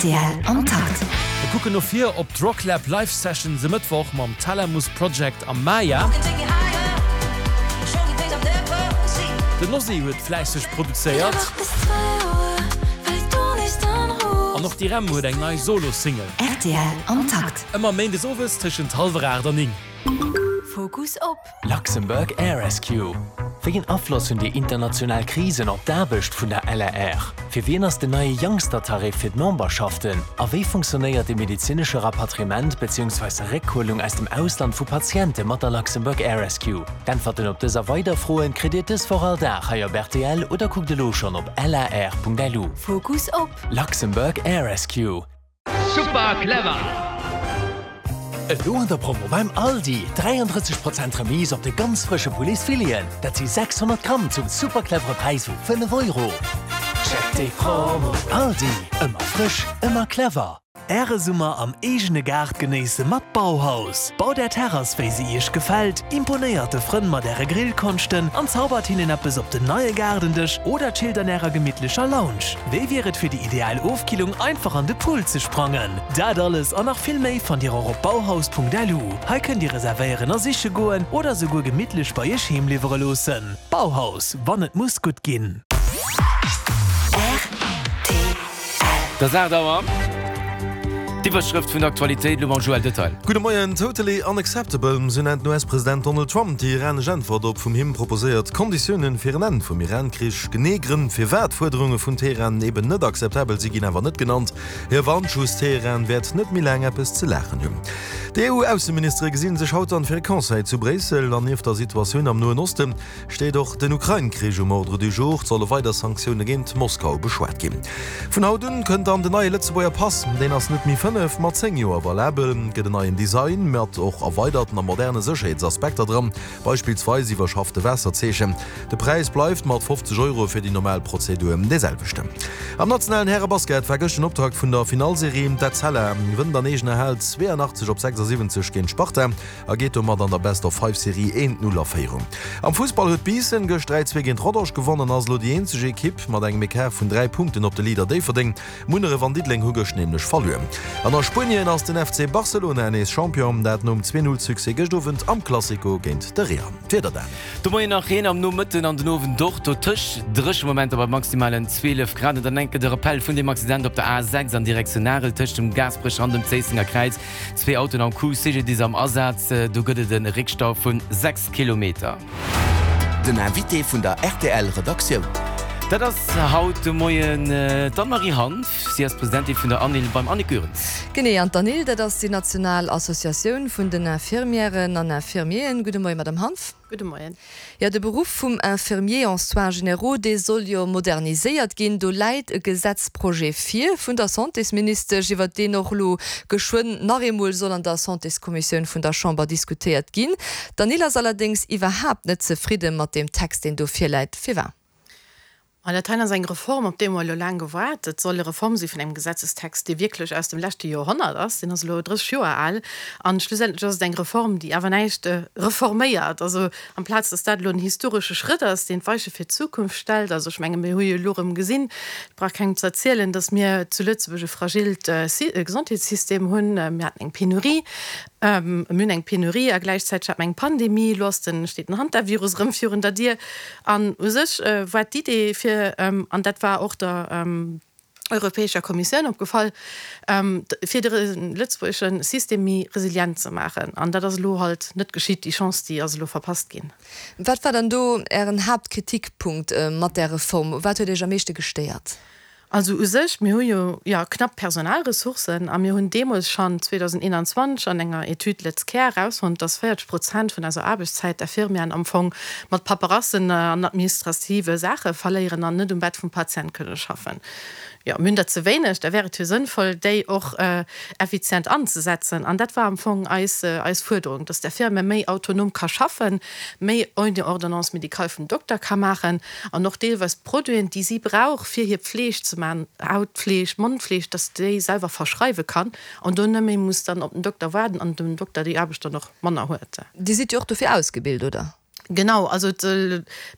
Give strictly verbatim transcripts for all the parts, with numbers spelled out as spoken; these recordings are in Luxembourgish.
Rtl am Takt. Mir kucken no vir op d'Rocklab Live Sessions e Mëttwoch mam Thalamus Project am Maya. Den Ozzy huet fläisseg produzéiert. An och d'Irem huet eng nei Solo-Single. Rtl am Takt. Ëmmer méindes owes tëschent hallwer aacht an néng. Fokus op. Luxembourg Air Rescue, Wéi een Afloss hunn déi international Krisen op d'Aarbecht vun der LAR? Fir wien ass den neie Youngster-Tarif fir d'Memberschaften? A wéi funktionéiert de medezinesche Rapatriement beziehungsweise Réckhuelung aus dem Ausland vu Patiente mat der Luxembourg Air Rescue? D'Äntwerten op dës a weider Froen kritt Dir dës Woch all Dag hei op rtl oder kuckt elo schonn op lar.lu. Fokus op. Luxembourg Air Rescue. Super clever! Elo an der Promo beim Aldi, dräianddrësseg Prozent Remise op de ganz frësche Pouletsfileten, dat si sechshonnert Gramm zum super clevere Präis vu fënnef Euro. Check déi Promo! Aldi, ëmmer frësch, ëmmer clever! Äre Summer am eegene Gaart genéisse mat Bauhaus. Baut Är Terrass wéi se Iech gefält, imponéiert de Frënn mat Äre Grillkonschten an zaubert hinnen eppes op den neie Gaardendësch oder chillt an Ärer gemittlecher Lounge. Wéi wier et fir déi ideal Ofkillung einfach an de Pool ze sprangen? Dat alles an nach vill méi fannt Dir och op bauhaus.lu. Hei kënnt Dir reservéieren a siche goen oder souguer gemittlech bei Iech heem liwwere loossen. Bauhaus, wann et muss gutt ginn. Et ass aacht Auer. D'Iwwerschrëft vun der Aktualitéit elo mam Joël Detail. Gudde Moien. Totally unacceptable, sou nennt den U S-President Donald Trump déi iranesch Äntwert op vum him proposéiert Konditiounen fir en Enn vum Iran-Krich. Genee Grënn, firwat d'Fuerderunge vun Teheran eben net akzeptabel si ginn awer net genannt. Hie warnt just, Teheran wäert net méi laang eppes ze laachen hunn. D'E U-Ausseministere gesinn sech haut dann fir e Conseil zu Bréissel an nieft der Situatioun am Noen Osten steet och den Ukrain-Krich um Ordre du jour. Et solle weider Sanktioune géint Moskau beschwat ginn. Vun haut un kënnt dann den neie Lëtzebuerger Pass. Deen ass net méi fënnef, ma zéng Joer valabel. Gëtt en neien Design mat och erweiderten a moderne Sécherheetsaspekter dran, beispillsweis iwwerschaffte Waasserzeechen. De Präis bleift mat fofzeg Euro fir déi normal Prozedur dee selwechten. Am nationalen Härebasket war gëscht den Optakt vun der Finallserie. D'Etzella wënnt an eegener Hal zweeanachtzeg op sechsasiwwenzeg géint Sparta a geet domat an der Best-of-Five-Serie eent Null a Féierung. Am Fussball huet Biissen gëscht dräi zwee géint Rodange gewonnen an ass elo déi eenzeg Ekipp mat engem Ecart vun dräi Punkten op de Leader Déifferdeng. Munneref an Diddeleng hu gëscht nämlech verluer. An a Spuenien ass den F C Barcelona nees Champion, dat nom zwee Null Succès gëscht Owend am Clasico géint de Real. D'Wieder dann. De Moien nach Reen, am Nomëtten an den Owend och dotëscht dréche Momenter bei maximalen zwielef Grad. An dann enke de Rappel vun dem Accident op der A sechs an Direktioun Arel tëscht dem Gaasperecher an dem Zéissenger Kräiz. Zwee Autoen am Coup, C G D I S am Asaz, do gëtt et e Réckstau vun sechs Kilometer. Den Invité vun der R T L Redaktioun. Dat ass haut de Moien d'Anne-Marie Hanff. Si ass Presidentin vun der ANIL beim Annick Goerens. Genee, an d'ANIL, dat ass déi national Associatioun vun den Infirmièren an Infirmieren. Gudde Moien, Madame Hanff. Gudde Moien. Jo, de Beruff vum Infirmier en soins généraux, dee soll jo moderniséiert ginn. Do läit e Gesetzprojet vir vun der Santésministesch, iwwert deen och elo geschwënn nach eemol soll an der Santéskommissioun vun der Chamber diskutéiert ginn. D'ANIL ass allerdéngs iwwerhaapt net zefridde mat deem Text, deen do virläit. Firwat? An dat hei ass eng Reform, op déi mer elo laang gewaart. Et soll e Reform si vun engem Gesetzestext, dee wierklech aus dem leschte Joerhonnert ass. Deen ass elo drësseg Joer al. An schlussendlech ass et eng Reform, déi awer näischt reforméiert. Also amplaz dass dat elo en historesche Schrëtt ass, deen d'Weiche fir d'Zukunft stellt, also ech menge mir hu jo elo erëm gesinn, et brauch kengem ze erzielen, dass mir zu Lëtzebuerg e fragilt Gesondheetssystem hunn. Mir haten eng Penurie, mir hunn eng Penurie a gläichzäiteg hat mer eng Pandemie. Elo ass den, steet den Hantavirus erëm virun der Dier. An u sech war d'Idee fir, an dat war och der Europäescher Kommissioun opgefall, fir de lëtzebuergesche System méi resilient ze maachen. An dat ass elo halt net geschitt, déi Chance, déi ass elo verpasst ginn. Wat war dann do Ären Haaptkritikpunkt mat där Reform? Wat huet Iech am meeschte gestéiert? Also u sech, mir hu jo, jo, knapp Personalressourcen a mir hunn deemools schonn zweedausendeenanzwanzeg an enger Etüd LëtzCare erausfonnt, dass véierzeg Prozent vun eiser Aarbechtszäit d'Infirmieren am Fong mat Paperassen an administrative Saache verléieren an net um Bett vum Patient kënne schaffen. Jo, mir hunn der ze wéineg, da wär et jo sënnvoll, déi och effizient anzesetzen. An dat war am Fong eis, eis Fuerderung, dass d'Infirmière méi autonom ka schaffen, méi ouni Ordonnance médicale vum Dokter ka maachen an och deelweis d'Produiten, déi si brauch, fir hir Pfleeg ze maachen, Hautpfleeg, Mondpfleeg, dass déi selwer verschreiwe kann an do net méi muss dann op den Dokter waarden an dem Dokter déi Aarbecht dann och manner huet. Dir sidd jo och dofir ausgebilt, oder? Genau, also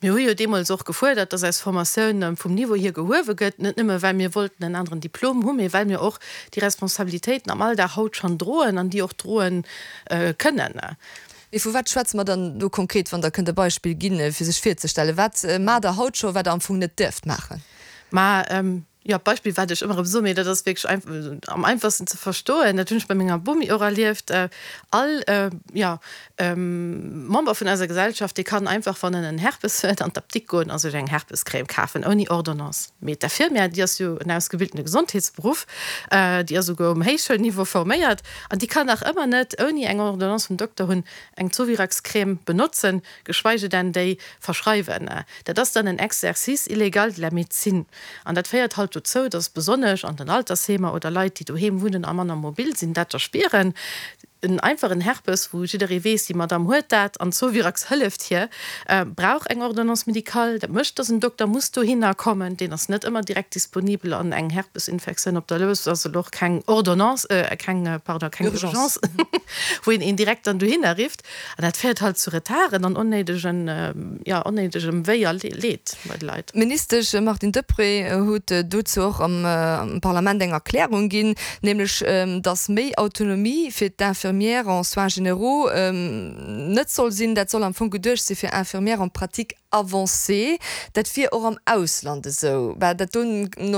mir hu jo deemools och gefuerdert, dass eis Formatioun vum Niveau hier gehuewe gëtt, net nëmme well mir wollten en aneren Diplom hunn, mee well mir och déi Responsabilitéiten am Alldag haut schonn droen an déi och droe kënnen. Mee vu wat schwätze mer dann do konkret, wann Der kënnt e Beispill ginn, fir sech virzestellen? Wat maacht Der haut scho, wat Der am Fong net dierft maachen? Ma jo, d'Beispill, wat ech ëmmer erëm soen, mee dat ass wierklech am einfachsten ze verstoen, dat hunn ech bei menger Bomi och erlieft, All, jo, Member vun eiser Gesellschaft, dee kann einfach, wann en en Herpes huet, an d'Apdikt goen a sech eng Herpescrème kafen, ouni Ordonnance. Mee d'Infirmière, déi ass jo en ausgebildene Gesondheetsberuff, déi ass esouguer um Héichschoulniveau forméiert, an déi kann nach ëmmer net, ouni eng Ordonnance vum Dokter hunn, eng Zovirax-Crème benotzen, geschweige denn déi verschreiwen. Dat ass dann en Exercice illégal de la médecine. An dat féiert halt dozou, dass besonnesch an den Altersheemer oder Leit, déi doheem wunnen a manner mobil sinn, dat da spieren. En einfachen Herpes, wou jidderee weess, déi Madamm huet dat an Zovirax hëlleft hir, brauch eng Ordonnance médicale. Dat mécht, dass en Dokter muss dohinner kommen, deen ass net ëmmer direkt disponibel an eng Herpesinfektioun op der Lous ass elo och keng Ordonnance, keng, pardon, keng Urgence, wou een een direkt dann dohinner rifft. An dat féiert halt zu Retarden an onnéidegen, jo, onnéidegem Wéi a Leed bei de Leit. D'Ministesch Martine Deprez huet dozou och am Parlament eng Erklärung ginn, nämlech datt méi Autonomie fir d'Infirmières en soins généraux net soll sinn. Dat soll am Fong geduecht si fir Infirmières en pratique avancée. Dat wier och am Ausland esou. Bah, dat do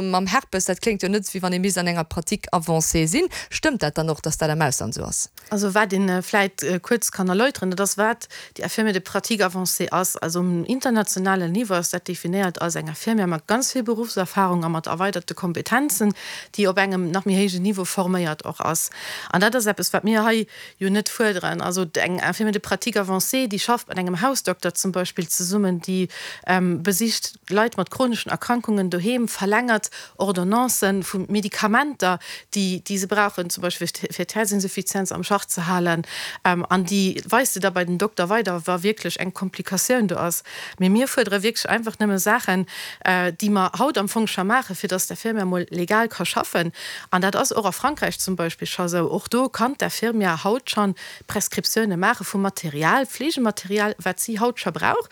mam Herpes, dat kléngt jo net, wéi wann ee misst an enger Pratique avancée sinn. Stëmmt dat dann och, datt dat am Ausland esou ass? Also wat een vläit kuerz kann erläuteren, dat ass wat déi Infirmière de pratique avancée ass. Also um internationalen Niveau ass dat definéiert als eng Infirmière mat ganz vill Beruffserfahrung a mat erweiderte Kompetenzen, déi op engem nach méi héijen Niveau forméiert och ass. An dat ass eppes, wat mir hei jo net fuerderen. Also eng Infirmière de pratique avancée, déi schafft mat engem Hausdokter zum Beispill zesummen, déi besicht Leit mat chroneschen Erkrankungen doheem, verlängert Ordonnancen vu Medikamenter, déi déi se brauchen, zum Beispill fir d'Häerzinsuffizienz am Schach ze halen, an déi weist se da bei den Dokter weider, wa wierklech eng Komplikatioun do ass. Mee mir fuerdere wierklech einfach nëmme Saachen, déi mer haut am Fong scho maachen, fir dass d'Infirmière mol legal ka schaffen. An dat ass och a Frankräich zum Beispill scho sou. Och do kann d'Infirmière haut scho Prescriptioune maache vu Material, Fleegematerial, wat si haut scho brauch.